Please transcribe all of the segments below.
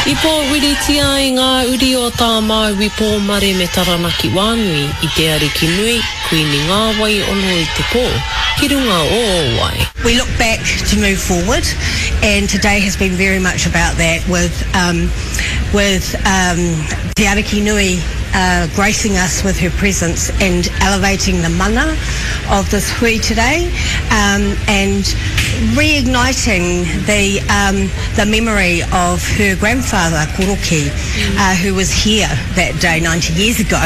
I pōwhiritia ai ngā uri o Tā Māui Pōmare me Taranaki Wānui i te Ariki Nui, Kuini Ngāwai ono i te pō, ki runga o Ōwai. We look back to move forward and today has been very much about that with um with um Te Ariki Nui uh gracing us with her presence and elevating the mana of this hui today um and reigniting the um the memory of her grandfather Koroki uh who was here that day 90 years ago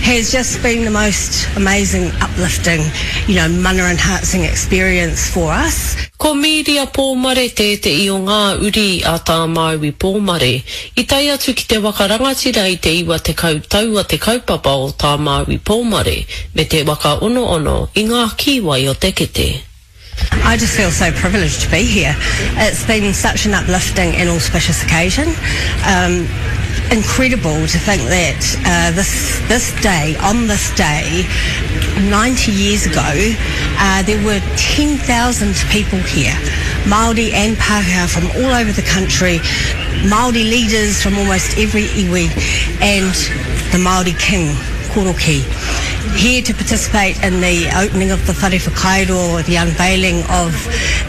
has just been the most amazing uplifting you know mana enhancing experience for us. Ko Mīria Pōmare tētehi o ngā uri a Tā Māui Pōmare i tae atu ki te waka rangatira i te 90 tau a te kaupapa o Tā Māui Pōmare me te waka onoono i ngā kīwai o te kete. I just feel so privileged to be here. It's been such an uplifting and auspicious occasion. Um, incredible to think that uh, this this day, on this day, 90 years ago, uh, there were 10,000 people here, Māori and Pākehā from all over the country, Māori leaders from almost every iwi, and the Māori King, Koroki here to participate in the opening of the Whare Whakairo, the unveiling of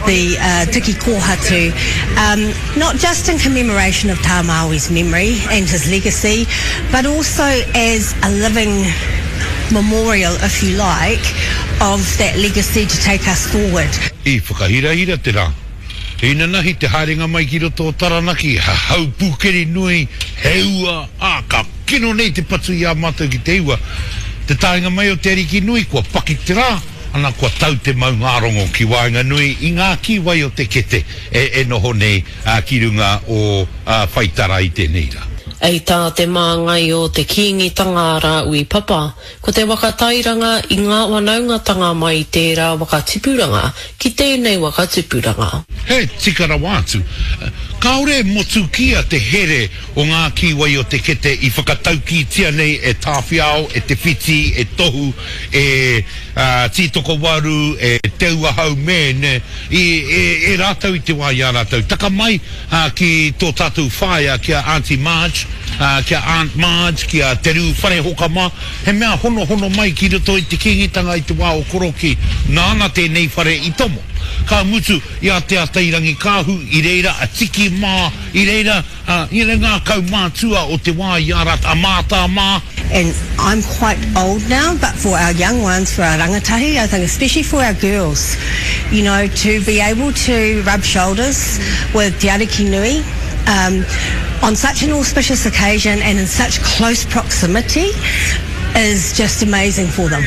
the uh, Tiki Kōhatu, um, not just in commemoration of Tā Māui's memory and his legacy, but also as a living memorial, if you like, of that legacy to take us forward. I whakahirahira te rā. Inanahi te haerenga mai ki roto o Taranaki, he hau pūkeri nui, he ua, ā, ka kino nei te patu i a mātou ki te ua. Te taenga mai o Te Ariki Nui, kua paki te rā, ana kua tau te maungārongo ki waenganui i ngā kīwai o te kete e noho nei ki runga o Whaitara i tēnei rā. Hei tā te māngai o te Kīngitanga a Rāui Papa, Ko te waka tairanga i ngā whanaungatanga mai i tērā waka tipuranga ki tēnei waka tupuranga. He tika rawa atu. Kāore e motukia te here o ngā kīwai o te kete i whakataukītia nei e Tāwhiao, e Te Whiti, e Tohu, e Tītokowaru, e Te Ua Haumēne, i, e, e rātou i te wā i a rātou. Taka mai ki tō tātou whaea, ki a Aunty Marge, ki a Aunt Marge, ki a Te Rū Wharehoka mā, he mea honohono mai ki roto i te Kīngitanga i te wā o Korokī, nāna tēnei whare i tomo. Ka mutu i a Te Atairangikaahu, i reira a Tiki mā, i reira you know, ngā kaumātua o te wā i a rātou, a Mātā mā. And I'm quite old now, but for our young ones, for our rangatahi, I think especially for our girls, you know, to be able to rub shoulders with Te Ariki Nui, um, on such an auspicious occasion and in such close proximity is just amazing for them.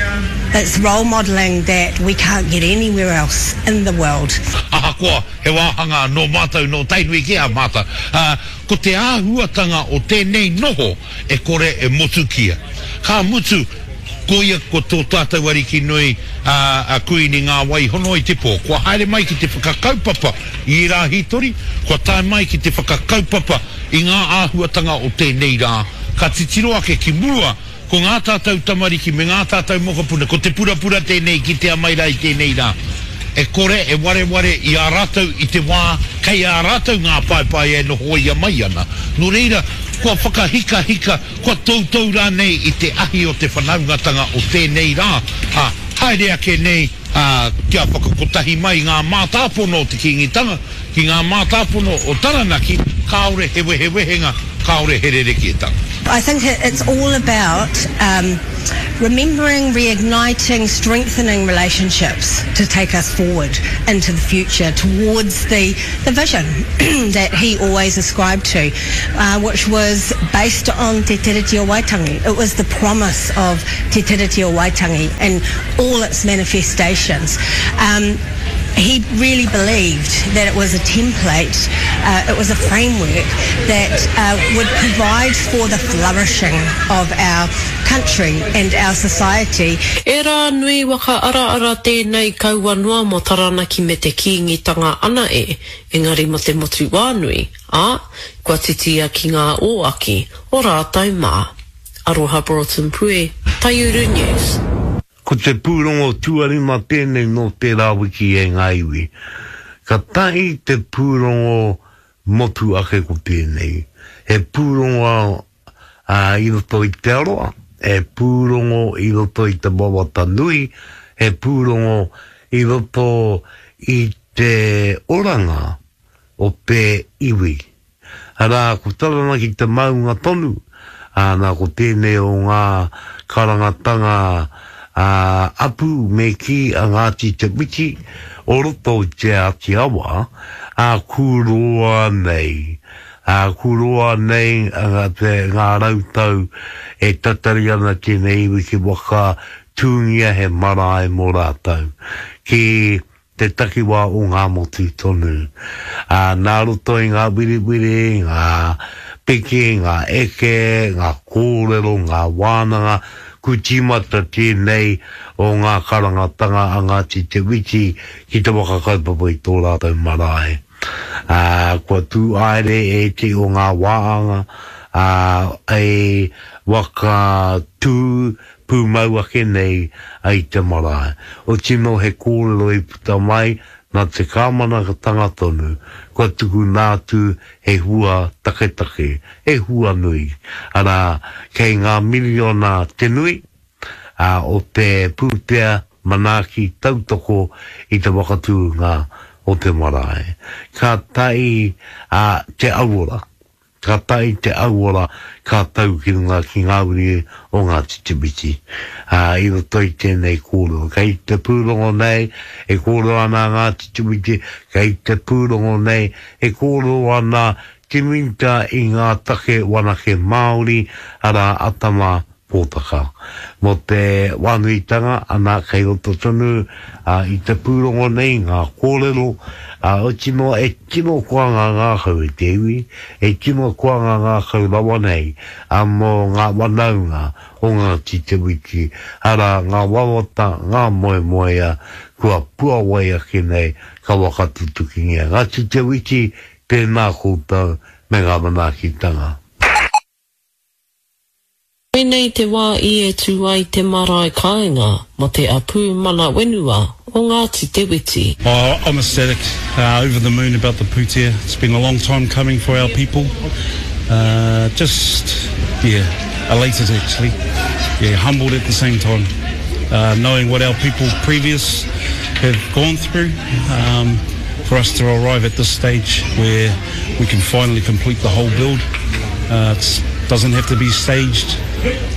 It's role modelling that we can't get anywhere else in the world. Ahakoa he wāhanga nō mātou nō Tainui kē a mātou, ā, ko te āhuatanga o tēnei noho e kore e motukia. Ka mutu, koia ko tō tātou Ariki nui, ā, a Kuini Ngā-wai-hono-i-te-pō, kua haere mai ki te whakakaupapa i ērā hītori, kua tae mai ki te whakakaupapa i ngā āhuatanga o tēnei rā, ka titiro ake ki mua, ko ngā tātou tamariki me ngā tātou mokopuna, ko te purapura tēnei kitea mai rā i tēnei rā, e kore e wareware i a rātou i te wā kei a rātou ngā paepae e nohoia mai ana. Nō reira, kua whakahikahika, kua toutou rānei i te ahi o te whanaungatanga o tēnei rā, ā, haere ake nei, ā, kia whakakotahi mai ngā mātāpono o te Kīngitanga ki ngā mātāpono o Taranaki, kāore he wehewehenga, kāore he rerekētanga. I think it's all about um remembering, reigniting, strengthening relationships to take us forward into the future towards the the vision that he always ascribed to, uh, which was based on Te Tiriti o Waitangi. It was the promise of Te Tiriti o Waitangi and all its manifestations. Um, he really believed that it was a template, uh, it was a framework that uh, would provide for the flourishing of our country and our society. E rā nui waka araara tēnei kaua noa mō Taranaki me te Kīngitanga ana e, engari mō te motu wānui, ā, kua titia ki ngā ōaki o rātou mā. Aroha Broughton Pue, Taiuru News. Ko te pūrongo tuarima tēnei nō tērā wiki e ngā iwi. Katahi te pūrongo. motu ake ko tēnei. He pūrongo i roto i te aroa, he pūrongo i roto i te wawata nui, he pūrongo i roto i te oranga o te iwi. Arā, ko Taranaki te maunga tonu, ā, nā ko tēnei o ngā karangatanga ā, apu me kī a Ngāti Te Whiti o roto i Te Āti Awa, ā, kūroa nei, ā, kūroa nei te, ngā rautau e tatari ana tēnei iwi ki waka tūngia he marae mō rātou, ki te takiwā o Ngāmotu tonu. Ā, nā roto i ngā wiriwiri, ngā piki, ngā eke, ngā kōrero, ngā wānanga, ku tīmata tēnei o ngā karangatanga a Ngāti Te Witi ki te waka kaupapa i tō rātou marae. Ā, kua tū aere ētehi o ngā wāanga, ā, e waka tū pūmau ake nei ai te marae. Oti nō he kōrero i puta mai nā te kāmanatanga tonu, kua tukuna atu he hua taketake, he hua nui, arā, kei ngā miriona te nui, ā, o te pūtea manaaki tautoko i te whakatūnga o te marae. Ka tae a Te Auora Ka tae te auora, ka tau ki runga ki ngā uri o Ngāti Te Whiti. Ā, i roto i tēnei kōrero, kei te pūrongo nei e kōrero ana a Ngāti Te Whiti, kei te pūrongo nei e kōrero ana te Minita i ngā take wanake Māori, arā, a Tama Pōtaka. Mō te wānuitanga, ana, kei roto tonu i te pūrongo nei ngā kōrero, oti noa e tino koa ngā ngākau e te iwi, e tino koa ngā ngākau rawa nei mō ngā wanaunga o Ngāti Te Witi, arā, ngā wawata, ngā moemoea kua puawai ake nei ka whakatutukingia. Ngāti Te Witi, tēnā koutou me ngā manaakitanga. Koinei te wā i e tū ai te marae kāinga mo te apū mana wenua o Ngāti Te Witi. Oh, I'm ecstatic, uh, over the moon about the pūtea. It's been a long time coming for our people. Uh, just, yeah, elated actually. Yeah, humbled at the same time. Uh, knowing what our people previous have gone through, um, for us to arrive at this stage where we can finally complete the whole build. Uh, it's doesn't have to be staged.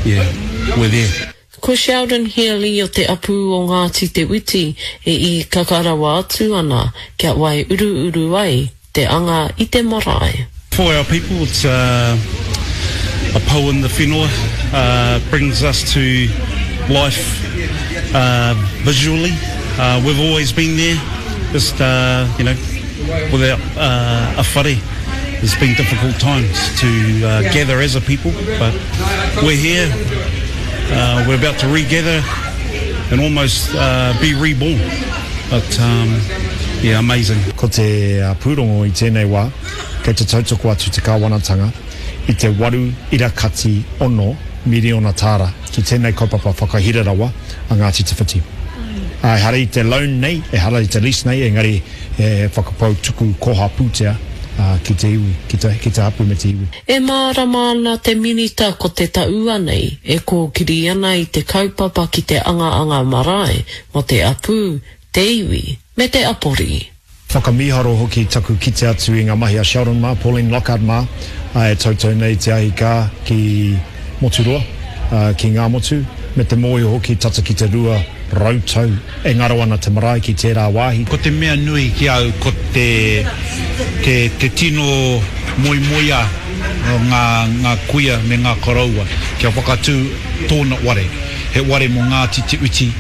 Yeah, we're there. Ko Sheldon Healy o te apū o Ngāti Te Witi e īkaka rawa atu ana kia waiuruuru ai te anga i te marae. For our people it's a, a pou in the whenua, uh, brings us to life uh, visually. Uh, we've always been there, just, uh, you know, without uh, a whare. It's been difficult times to uh, gather as a people, but we're here. Uh, we're about to regather and almost uh, be reborn. But um, yeah, amazing. Ko te uh, pūrongo i tēnei wā, kei te tautoko atu te kāwanatanga i te waru ira kati ono miriona tāra ki tēnei kaupapa whakahira rawa a Ngāti Te Whiti. Ehara i te loan nei, ehara i te lease nei, engari he whakapau tuku koha pūtea ki te iwi, ki te, ki te hapū me te iwi. E mārama ana te Minita ko te taua nei e kōkiri ana i te kaupapa ki te angaanga marae mō te apū, te iwi, me te apori. Whakamīharo hoki taku kite atu i ngā mahi a Sheldon mā, Pauline Lockhart mā, e tautau nei te ahi kā ki Moturoa, ki Ngāmotu, me te mōhio hoki tata ki te 200 tau e ngaro ana te marae ki tērā wāhi. Ko te mea nui ki au ko te te te tino moemoeā o ngā ngā kuia me ngā koroua kia whakatū tōna ware, he ware mō Ngāti Te Uti.